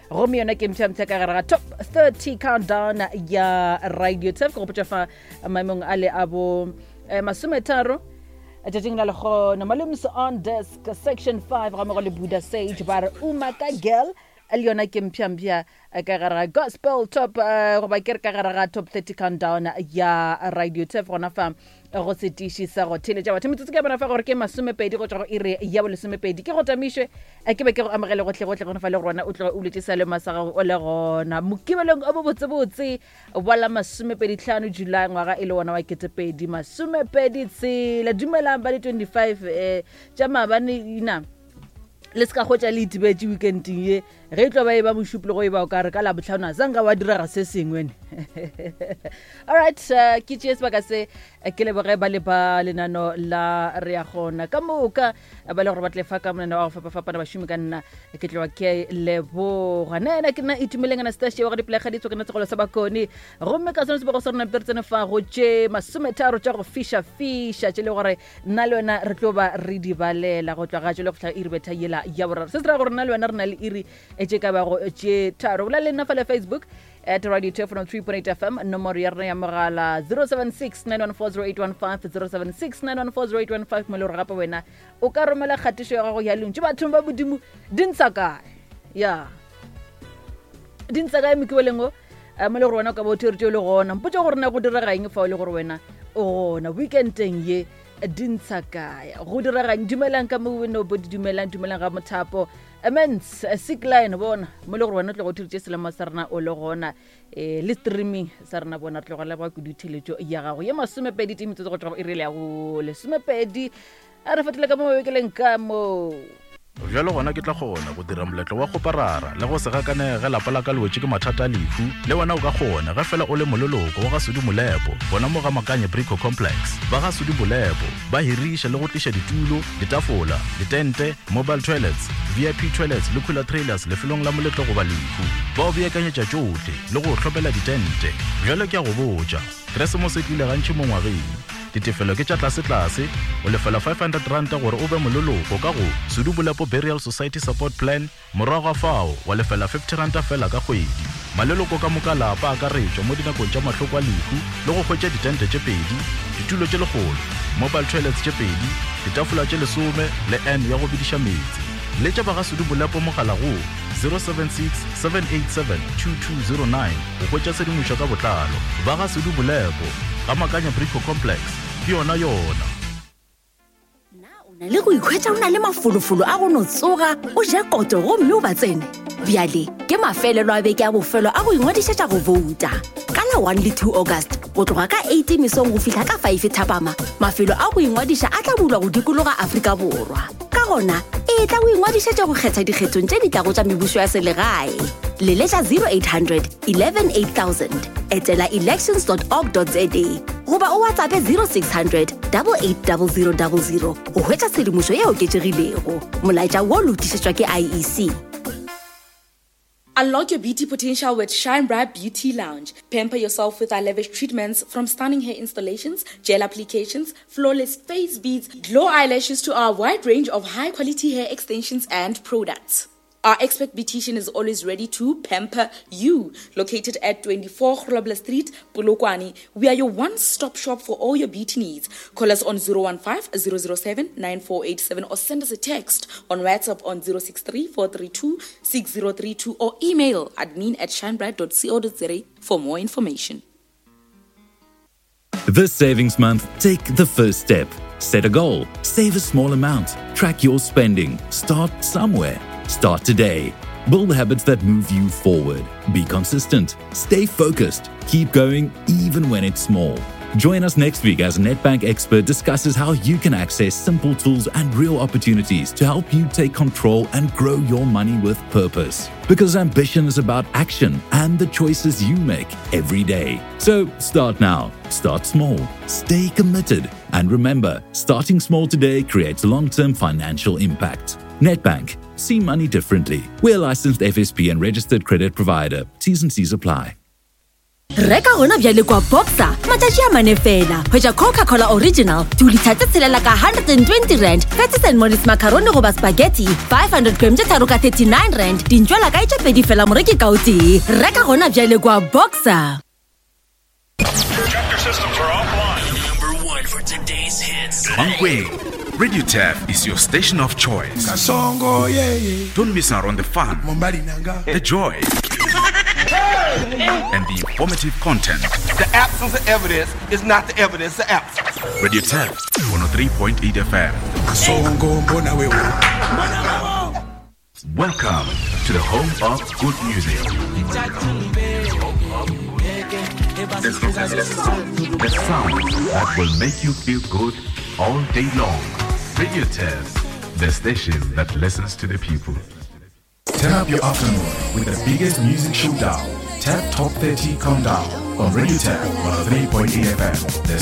Gomme yona ke mpsha-mpsha ka gare ga top 30 countdown ya Radio Turf. Ke gopotša fa maemong a le a bo eh, masometharo tšatšing la lekgono. Malums on desk section 5 ga mogo le Buddha Sage ba re Umaka Girl, le yona ke mpsha-mpsha ka gare ga gospel top eh, goba ke re ka gare ga top 30 countdown ya Radio Turf gona fa go setiši sa go theletša batho. Metsotso ke ya bona fa gore ke masomepedi go tšwa go iri ya bolesomepedi. Ke go tamišwe eh, ke be ke go amogele gotlhegotlhe gona fa le gona o tloga o buletše salema sa gago o le gona mokibelong o bobotsebotse wa la masomepedi tlhano July ngwaga e le wona wa ketepedi masomepedi tshela. Dumelang ba di 25 um tša maabane ina le se ka kgotša le itibetše weekending ye ge e tlo ba e ba mošupologo e ba o ka re ka labotlhano a sanka wa direga se sengwe ne. Alright, ke tšee sebaka se ke leboge ba le ba lenano la re ya gona ka moka ba le gore ba tle fa ka monana wa go fapafapana bašomi ka nna ke tloa ke leboga. Nna ena ke nna Itumeleng Anastasia wa go dipelega ditso ke nna segolo sa bakone gomme ka sone sebego sa rona pere tsene fa go tše masometharo tša go fiša-fiša tše le gore nna le wena re tlo ba re di balela go tloga tšwele go fihla iri betha yela ya boraro. Se se ra gore nna le wena re na le iri tše ka bago tše tharo. Bolela le nna fa le Facebook at Radio 203.8 FM, nomoro ya rena ya mogala 076 914 076 914 mo le gore gape wena o ka romela kgatišo ya gago ya lentšu bathong ba Modimo. Di ntsha kae ya di ntsha kae mokibeleng o mo le gore wena o ka ba o theretše o le gona? Mpotse gore na go direga eng fa o le gore wena o gona weekendeng ye. Di ntsha kae, go diregang? Dumelang ka mo weno bo di dumelang, dumelang ga mothapo amens sick line bona mo le gore wena o tlogo theretše selemo sa rena o le gona um le streaming sa rena bona. Re tlogo leboga kudu theletšo ya gago ye. Masomepedi tee metsotso go tloga go iri le ya go lesomepedi, a re fetole ka mo mabekeleng ka mo. Bjalo gona ke tla kgona go dira moletlo wa kgoparara le go se gakanege ge lapa la ka le wetše ke mathata a lehu. Le wena o ka kgona ge fela o le moleloko wa ga Sudi Molepo gona mo ga Makanye Brico Complex. Ba ga Sudi Molepo ba hiriša le go tliša ditulo, ditafola, ditente, mobile toilets, VIP toilets le cooler trailers lefelong la moletlo goba lehu. Ba o beakanyetša tšohle le go o hlopela ditente. Bjalo ke a go botša, Keresemose e tlile gantši mo ngwageng. Ditefelo ke tša tlasetlase, o lefela R500 gore o be moleloko ka go Sudu Bolepo Burial Society Support Plan, morago ga fao wa lefela R50 feela ka kgwedi. Maleloko ka moka a lapa a akaretšwa mo dinakong tša mahloko a lehu le go hwetša ditente tše pedi, ditulo tše lekgolo, mobile toilets tše pedi, ditafola tše lesome le urn ya go bediša meetse. Letša ba ga Sudu Bolepo mogala go 076 787 2209 go hwetša tshedimošo ka botlalo. Ba ga Sudu Bolepo, ga Makanya Brico Complex, ke yona yona. Na o na le go ikhwetša o na le mafolofolo a go no tsoga o ja koto gomme o ba tsene? Bjale ke mafelelo a beke a bofelo a go ingwadišetša go bouta. Ka la 1 le 2 August go tloga ka 8 mesong go fihla ka 5 thapama, mafelo a go ingwadiša a tla bulwa go dikologa Afrika Borwa. Ka gona, e tla o ingwadišetše go kgetha dikgethong tše di tlago tša mebušo ya selegae. Leletša 0800 11 8000, etela elections.org.za goba o WhatsAppe 0600 880000 go hwetša tshedimošo e oketšegilego. Molaetša wo le o tlišetšwa ke IEC. Unlock your beauty potential with Shine Bright Beauty Lounge. Pamper yourself with our lavish treatments, from stunning hair installations, gel applications, flawless face beads, glow eyelashes to our wide range of high quality hair extensions and products. Our expert beautician is always ready to pamper you. Located at 24 Grobler Street, Polokwane, we are your one-stop shop for all your beauty needs. Call us on 015 007 9487 or send us a text on WhatsApp on 063 432 6032 or email admin at shinebright.co.za for more information. This savings month, take the first step. Set a goal, save a small amount, track your spending, start somewhere. Start today. Build habits that move you forward. Be consistent, stay focused, keep going even when it's small. Join us next week as Nedbank expert discusses how you can access simple tools and real opportunities to help you take control and grow your money with purpose. Because ambition is about action and the choices you make every day. So start now, start small, stay committed, and remember, starting small today creates long term financial impact. Nedbank, see money differently. We're a licensed FSP and registered credit provider. T's and C's apply. Reka gona bjale kwa Boxer matšatši a mane fela. Hwetša Coca-Cola Original 2 litha tse tshelela ka R120, Patties and Mollies macaroni goba spaghetti 500 gram tše tharo ka R39, dintšwela kae tše pedi fela moreki ka o tee. Reka gona bjale kwa Boxer. Mankweng, Radio Turf is your station of choice. Kasongo, yeah, yeah. Don't miss out on the fun, Mombali nanga. the joy, and the informative content. The absence of evidence is not the evidence of absence. Radio Turf, 103.8 FM. Kasongo, mbona wewe. Welcome to the home of good music. The sound that will make you feel good all day long. Radio Test, the station that listens to the people. Turn up your afternoon with the biggest music showdown. Tap Top 30 Countdown on Radio Tap 103.8 FM. The